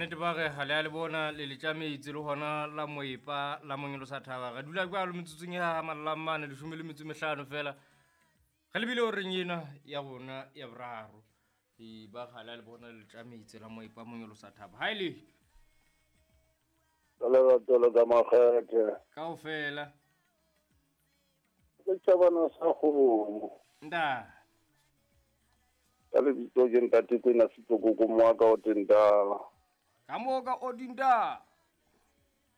nnete ba re ga le a le bona le letšametsi le gona la moepa la monyolosa thaba re dula kwalo metsotsong ya mallamane lešome le metso mehlano fela re lebile goreng ena ya rona ya boraro e ba ga le a le bona le letšametsi la moepa monyolosa thaba ga e le Ka lerato le ka makgethe. Kao fela. Setšhabana sa kgomo. Nta. Ka lebitso ke ntate Kwena Setokoko moaka o tentala. Ka moka o dintala.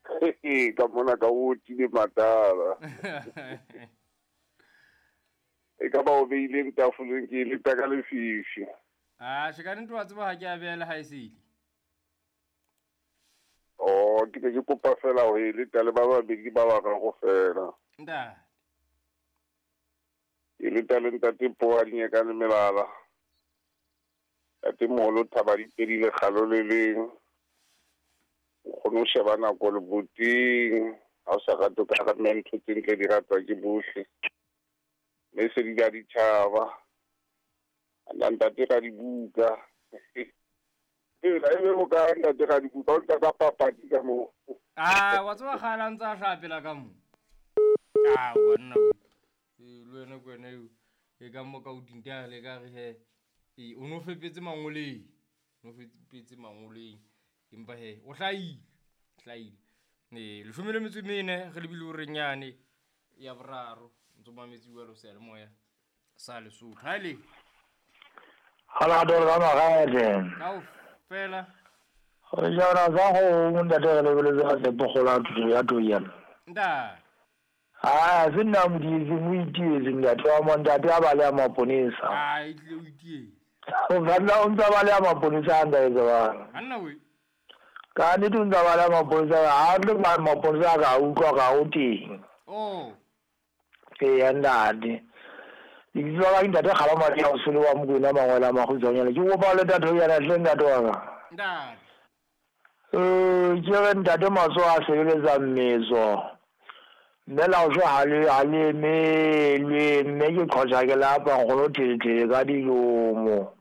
Ka mona ka o tile matala. E ka ba o beileng tafoleng ke e leta ka lefifi. A še ka nnete wa tseba ga ke a beela ga e sele. Oh, ke ne ke kopa fela go e leta le ba babedi ba bararo fela. Ntate. Ke leta le ntate Poa Dinyeka le Melala. Ntate Moholo Thaba Dipedi Lekgalo le leng. O kgone ho sheba nako leboteng. Ha o sa rate o ka re mme ntho tse ntle di ratwa ke bohle. Mme se di ka ditjhaba. Ana ntate ka dibuka. Ela e be o ka ntate ka dibuka o ntata papadi ka moo. A wa tseba kgale a ntse a hlapela ka mo. A wa nna o. E le wena ke wena eo. E ka mo ka o dintale ka re he. E o no fepetse mangoleng. O no fepetse mangoleng. Empa he o hlaile. Hlaile. E leshome le metso e mene re lebile o renyane ya boraro ntse o mametse jalo seyalemoya sa Lesotho. Ha le. Halado la magete. Kao fela. Re jana sa go ntate re lebeletse ga tsepo gola thuto ya toyana. Ntate. Ah, se nna modietse mo itietse ntate wa mo ntate a ba le a maponesa. Ah, e tlile o itietse. O ka o ntsa ba le a maponesa a nda etsa bana. Anna we. Ka nnete o ntsa ba le a maponesa ha le ba maponesa ka utlwa ka o teng. Oh. Ee ntate. Lebitso la ka ke ntate Kgaba Maria Osole wa Mokwena Mangwele a Makgutshwanyane. Ke kopa le ntate yana hle ntate wa ka. Ntate. Ke re ntate matsoho a sebeletsa mmetso. Mme la o ha le ha le emelwe mme ke qhotsa ke lapa nkgono thelethele ka dilomo.